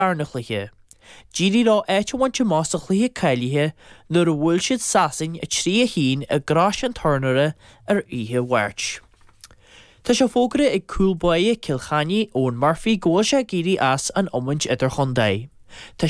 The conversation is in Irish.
Darna chluiche. D'éirigh leo áit a bhaint amach sa chluiche cáilithe nuair a bhuail siad Sasain 3, 1 i gCrois an Tornóra ar oíche Mháirt. Tá sé fógartha ag cúl báire Cill Chainnigh, Eoin Murphy, go bhfuil sé ag éirí as an iomáint idirchontae. Tá.